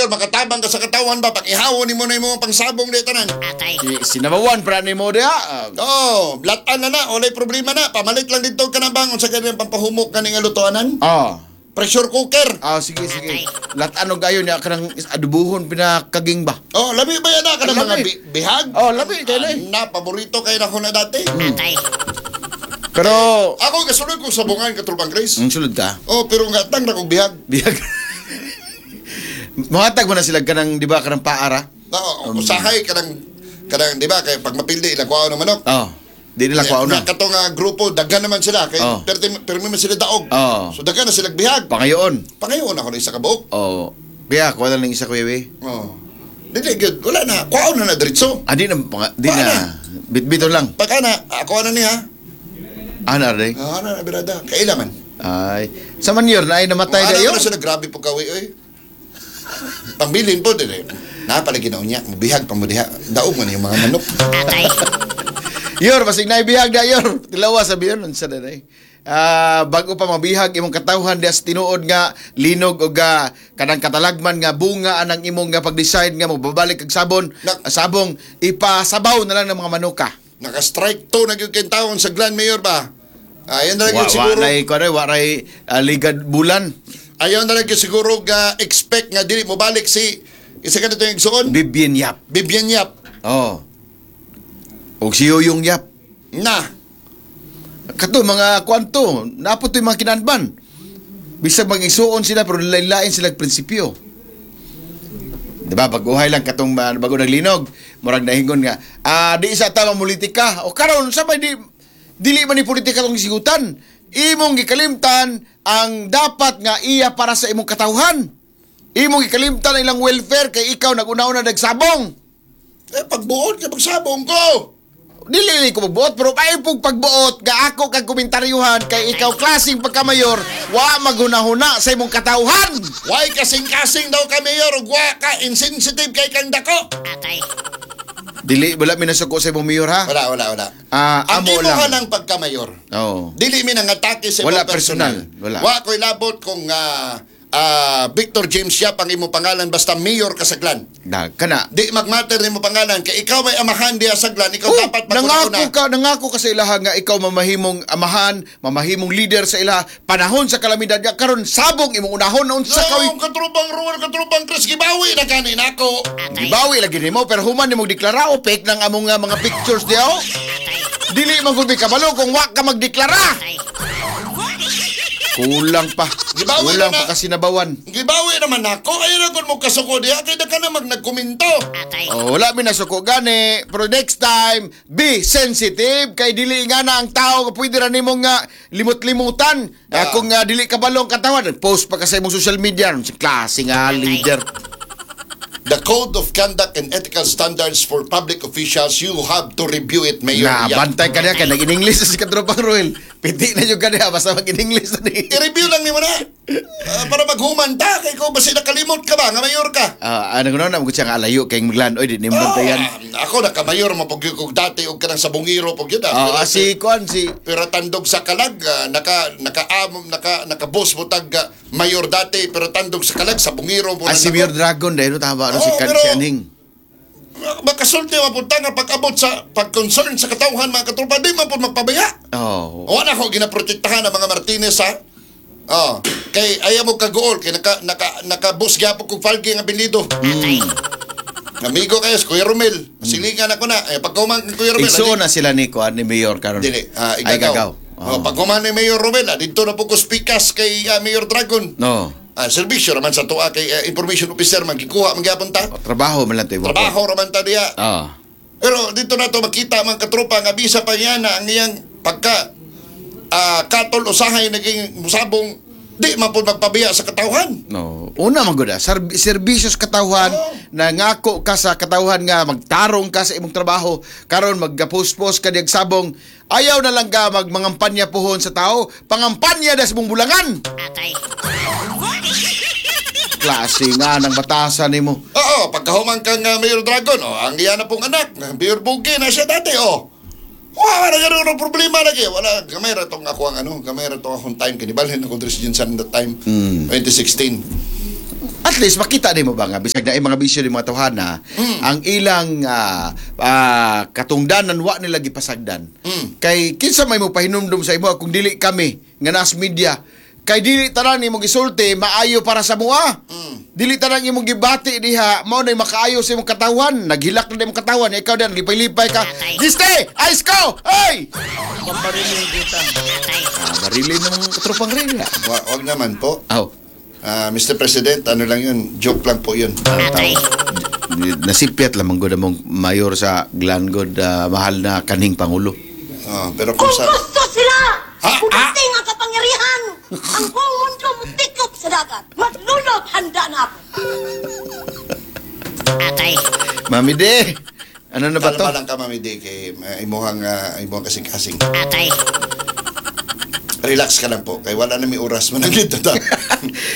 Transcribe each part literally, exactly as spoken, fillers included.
Mayor, makatabang ka sa katawan ba pag ihawon nimo na imong pangsabong di tanan. Atay. Si, sinabawan para nimo diha. Ah, Oh, latan na na, walay problema na. Pamalit lang dito ka na bang unsa kay pampahumok kani nga lutoanan? Oh. Pressure cooker. Ah, sige, sige. Latan og ayon niya kanang adubuhon pinakaging ba. Oh, labi ba yan na kanang mga Labi. bi- bihag? Oh, labi kay lahi. Na, paborito kay nako na dati. Atay. Pero Ako kasunod kong sabungan katrupang Chris. ang sulod ka. Oh, pero nga tang na kong bihag. Bihag. Muhatag mo na sila kanang di ba kanang paara? No, usahay kanang kanang di ba kay pag mapildi ilang kuwaon ng manok. Oh. Di nila kuwaon na. Katong nga grupo daghan naman sila kay Oh. perti permi man sila daog. Oh. So daghan na sila bihag. Pangayoon. Pangayoon ako na isa ka buok. Oh. Kaya kuha na lang isa kuya we. Oh. Dili gyud wala na. Kuwaon na na diretso. Ah, di na, pang- di Wala na. Bitbiton lang. Pagka na ako na niya. Ah, na rin. Ah, na na birada. Kaila man. Ay. Sa manyor na ay namatay Ana dayo. na sila grabe po kawi oy. Pambilin po dili. Napalagi na unya, mubihag pa mo diha. Daog man yung mga manok. Atay. Yor, basig na ibihag na yor. Tilawa sabi yun, unsa na day. Ah, bago pa mabihag imong katawhan diha sa tinuod nga linog og ah, kanang katalagman nga bunga anang imong nga pag-decide nga mobabalik kag sabon, Nak- ah, sabong ipasabaw na lang ng mga manuka. Naka-strike to na gyud kay taon sa Glan Mayor ba? Ayan na lang Wa gyud wa siguro. ray kuno wa ray ah, ligad bulan. Ayaw na lang gyud siguro ga expect nga dili mo balik si isa ka na yung igsuon. Bibien Yap. Bibian Yap. Oh. Og si Yoyong Yap. Na. Kato mga kwanto, napot to yung mga kinanban. Bisag mag-isuon sila pero lain-lain sila og prinsipyo. Di ba? Baguhay lang katong uh, bago naglinog, murag nahingon nga, ah di isa tama politika. O karon sa may di dili man ni politika tong sigutan. Imong gikalimtan ang dapat nga iya para sa imong katawhan. Imong gikalimtan ang ilang welfare kay ikaw nag-una-una nagsabong. Eh pagbuot kay pagsabong ko. Dili ko magbuot pero ay pug pagbuot ga ako kag komentaryuhan kay ikaw klaseng pagkamayor wa maghunahuna sa imong katawhan. Why kasing-kasing daw ka mayor ug wa ka insensitive kay kang dako. Atay. Dili wala mi nasuko sa imong mayor ha. Wala wala wala. Ah, Ang amo imo lang. ka ng pagkamayor. Oo. Dili mi nangatake sa Wala imong personal. personal. Wala. Wa ko'y labot kung ah, ah, Victor James Yap ang imo pangalan basta mayor ka sa Glan. Da kana. Di magmatter nimo pangalan kay ikaw may amahan diha sa Glan, ikaw Oh, dapat nangako maguna. ka, nangako ka sa ilaha nga ikaw mamahimong amahan, mamahimong leader sa ilaha panahon sa kalamidad nga karon sabong imong unahon unsa ka No, katrupang Ruel, katrupang Chris, gibawi na gani nako. Atay. Gibawi lagi nimo pero human nimo deklara o fake ng among nga mga pictures diha. oh. Atay. Dili man gud kabalo kung wa ka magdeklara. Atay. Kulang pa. Gibawi Kulang na pa na. kasi nabawan. Gibawi naman nako, ayaw na gud mo kasuko diha kay da ka na mag nagkomento. Atay. Oh, wala mi nasuko gani. Pero next time, be sensitive kay dili nga na ang tao nga pwede ra nimo nga limot-limutan. Ah. Ah. kung nga dili ka balong katawan, post pa ka sa imong social media. Sa klase nga leader. The Code of Conduct and Ethical Standards for Public Officials, you have to review it, Mayor. Na Yap. bantay ka niya kay nag-English si katropang Ruel. Piti na yung kaniya basta mag-English na ni. I-review lang nimo na. Ah, para maghuman ta kay ko basi nakalimot ka ba nga mayor ka. Ah, ano kuno na mo siya nga alayo kay maglan oy di nimo bantayan. Ah, ako nakamayor mo pag kog dati og kanang sabungiro pag yun ah. Ah, Pero- ah, si kuan si pero tandog sa kalag ah, naka naka um, naka naka-boss mo tag ah, mayor dati pero tandog sa kalag sabungiro mo ah, na si nako. Mayor Dragon dahil tama ano si Oo, kan pero- si Aning. Makasulti mapunta nga pag-abot sa pag-concern sa katawhan mga katropa di man po magpabaya. Oh. Wala ko ginaprotektahan ang mga Martinez ha. Oh, kay ayaw mo kagool kay naka naka naka-boss gyapon kog falgi nga apelyido. Atay. Amigo kayo, si Kuya Romel. Silingan ako na. Eh, pagkuman kay Kuya Romel. Igsuon na sila ni kuan ni Mayor karon. Dili, ah, Ay igagaw. gagaw. Oh. pagkuman ni Mayor Romel, ah, dito na po ko speakas kay ah, Mayor Dragon. No. Ah, serbisyo raman sa tuwa kay ah, information officer man gikuha man gyapon ta. O, trabaho man lang to. ibo. Trabaho raman ta diya. Ah. Pero dito na to makita mga katropa nga bisa pa niya na ang iyang pagka ah, katol usahay naging musabong di man po magpabiya sa katawhan. No. Una man gud ah, serb- serbisyo sa katawhan Oo. nangako ka sa katawhan nga magtarong ka sa imong trabaho karon magga-post-post ka diag sabong ayaw na lang ka magmangampanya pohon sa tao pangampanya da sa imong bulangan Atay. klase nga ng batasan nimo Oo, pagkahuman kang ah, Mayor Dragon, oh, ang iya na pong anak, Mayor Bugi na siya dati, oh. Wala na ganun ang problema lagi. Wala, gamay ra tong ako ang ano, gamay ra tong akong time. Kinibalhin ako diri sa Jinsan that time, Mm. twenty sixteen. At least makita nimo ba nga bisag na mga bisyo ni mga tawhana, ang ilang ah, ah, katungdanan wa nila gipasagdan. Kay kinsa may mo pahinumdum sa imo kung dili kami nga nas media kay dili tanan imong gisulti maayo para sa mua. Dili tanan imong gibati diha mao nay makaayo sa imong katawan. Naghilak na imong katawan ikaw dan lipay-lipay ka. Giste! Ice ko! Hey! Pambarilin kita. Ah, barilin ng katropang rila. Wa- Wag naman po. Aw. Ah, Mister President, ano lang yun? Joke lang po yun. Nasipyat lamang gud among mayor sa Glangod, ah, mahal na kanhing pangulo. Ah, pero kung Kung sa gusto sila, Ha? pumating ang kapangyarihan, ang buong mundo mutikop sa dagat. Maglunod, handa na ako. Mami De, ano na ba to? Kalma lang ka, Mami D, kay uh, imuhang, uh, imuhang kasing-kasing. Relax ka lang po, kay wala na may oras managit ta.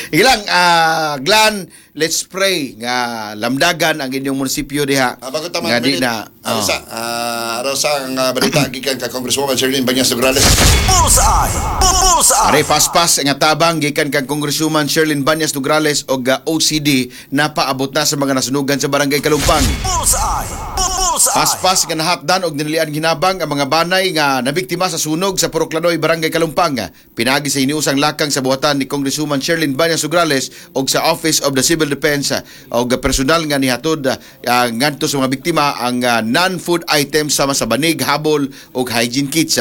Sige lang, ah, Glan, let's pray nga lamdagan ang inyong munisipyo diha. Ah, bago ta nga di mag-minute, na. Oh. Arosa, ah, arosa ang ah, balita gikan ka Congresswoman Shirlene Bañas Nograles. Bullseye! Bullseye! Are paspas nga tabang gikan kang Congresswoman Shirlene Bañas Nograles og ah, O C D napaabot na sa mga nasunugan sa Barangay Kalumpang. Bullseye! Bullseye! Paspas nga nahatdan og dinalian hinabang ang mga banay nga nabiktima sa sunog sa Purok Lanoy, Barangay Kalumpang. Pinagi sa hiniusang lakang sa buhatan ni Congresswoman Shirlene Bañas Nograles og sa Office of the Civil Defense og personal nga nihatod uh, ngadto sa mga biktima ang ah, non-food items sama sa banig, habol og hygiene kits.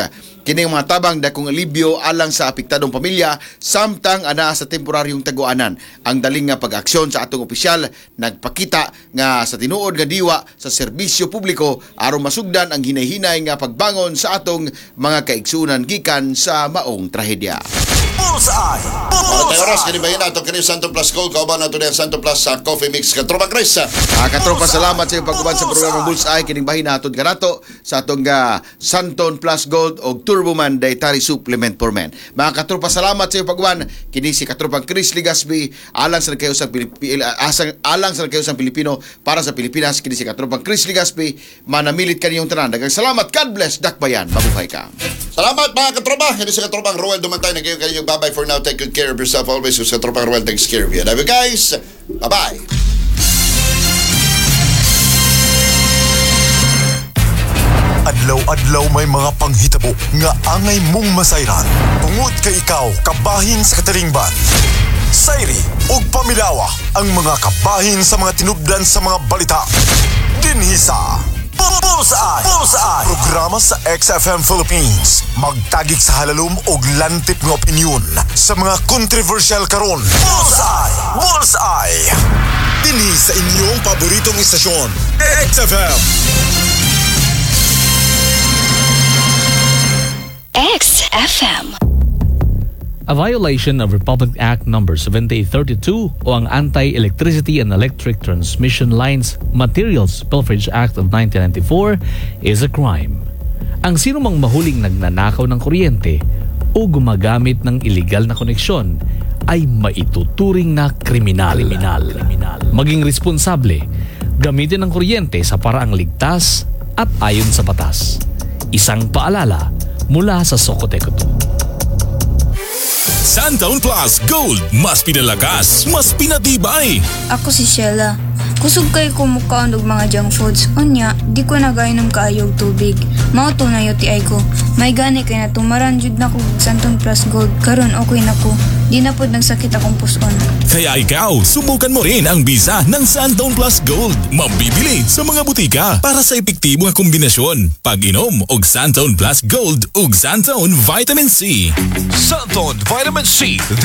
Kini ang mga tabang dakong alibyo alang sa apektadong pamilya samtang anaa sa temporaryong taguanan. Ang daling nga pag-aksyon sa atong opisyal nagpakita nga sa tinuod nga diwa sa serbisyo publiko aron masugdan ang hinay-hinay nga pagbangon sa atong mga kaigsunan gikan sa maong trahedya. Bullseye! Para tayo oras, Bullseye! kini bahin nato kini Santo Plus Gold, kauban nato ni ang Santo Plus sa Coffee Mix. Katropa Chris. ah. Ah, katropa, salamat sa iyong pag-uban sa programang Bullseye. Kining bahin naton kanato sa atong uh, Santon Plus Gold og Turboman Dietary Supplement for Men. Mga katropa, salamat sa iyong pag-uban. Kini si katropang Chris Legaspi alang sa nagkayusang Pilipi, asang, alang sa nagkayusang Pilipino para sa Pilipinas. Kini si katropang Chris Legaspi. Manamilit kaniyong tanan. Daghang salamat. God bless. Dakbayan. Mabuhay ka. Salamat mga katropa. Kini si katropang Roel Dumantay. Nagayon kayo. Bye-bye for now. Take good care of yourself always. Sa katropang Roel takes care of you. Love you guys. Bye-bye. Adlaw-adlaw may mga panghitabo nga angay mong masayran. Tungod kay ikaw kabahin sa katilingban. Sayri ug pamilawa ang mga kabahin sa mga tinubdan sa mga balita. Dinhi sa Bullseye! Bullseye! Programa sa X F M Philippines. Magtagik sa halalom og lantip nga opinyon sa mga kontrobersyal karon. Bullseye! Bullseye! Dinhi sa inyong paboritong istasyon, X F M. X F M. A violation of Republic Act Number seventy-eight thirty-two o ang Anti-Electricity and Electric Transmission Lines Materials Pilferage Act of nineteen ninety-four is a crime. Ang sino mang mahuling nagnanakaw ng kuryente o gumagamit ng illegal na koneksyon ay maituturing na kriminal. Kriminal. Maging responsable, gamitin ang kuryente sa paraang ligtas at ayon sa batas. Isang paalala mula sa Socoteco two. Santone Plus Gold. Mas pinalakas, mas pinatibay. Ako si Sheila. Kusog kay ko mukaon og mga junk foods. Unya, di ko nagainom kaayo og tubig. Mao to na U T I ko. May gani kay natumaran jud na ko og Santon Plus Gold. Karon okay na ko. Di na pod nagsakit akong puson. Kaya ikaw, subukan mo rin ang bisa ng Santone Plus Gold. Mabibili sa mga butika para sa epektibo nga kombinasyon. Pag-inom og Santone Plus Gold ug Santone Vitamin C. Santon Vitamin C.